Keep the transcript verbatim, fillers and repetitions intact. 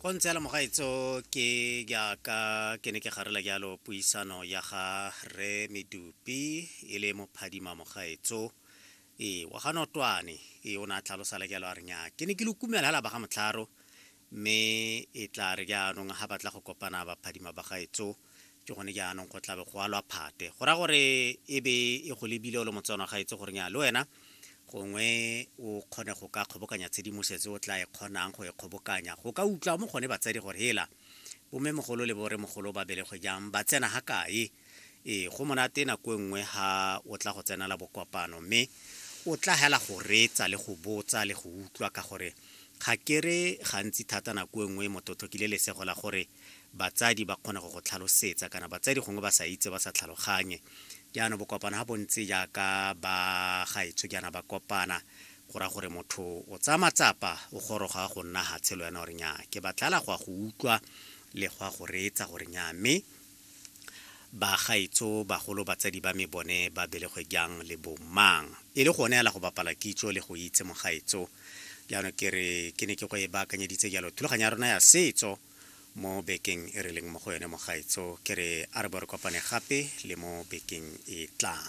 Go ntse jalo mogaetso, ke jaaka ke ne ke garela jalo puisano ya ga re Medupi e le mophadima mogaetso ee wa ga Notwane. Ee, o ne a tlhalosa le jalo a re nya ke ne ke le kumela hela ba ga Motlharo, mme e tla re jaanong ga batla go kopana baphadima ba gaetso ke gone jaanong go tlabe go alwa phate, go raya gore e be e go lebile o le Motswana gaetso gore nya le wena gongwe o kgone go ka kgobokanya tshedimosetso o tla e kgonang go e kgobokanya, go ka utlwa mo gone batsadi gore hela bommemogolo le boremogolo ba belegwe jang, ba tsena ga kae. Ee, go monate nako e nngwe ga o tla go tsenela bokopano, mme o tla hela go reetsa le go botsa le go utlwa, ka gore ga ke re gantsi thata nako e nngwe motho o tlhokile lesego la gore batsadi ba kgone go go tlhalosetsa, kana batsadi gongwe ba sa itse, ba sa tlhaloganye. Jaanong bokopano ga bontse jaaka ba gaetsho jaana ba kopana, go raya gore motho o tsaya matsapa o goroga go nna hatshe le wena gore nya ke batlala go ya go utlwa le go ya go reetsa gore nya mme ba gaetsho bagolo batsadi ba me bone ba belegwe jang le bomang, e le gone hela go bapala kitso le go itse mogaetso. Jaanong ke re ke ne ke go e baakanyeditse jalo thulaganyo ya rona ya setso mo bekeng e re leng mo go yone mogaetso, ke re a re bo re kopane gape le mo bekeng e tlang.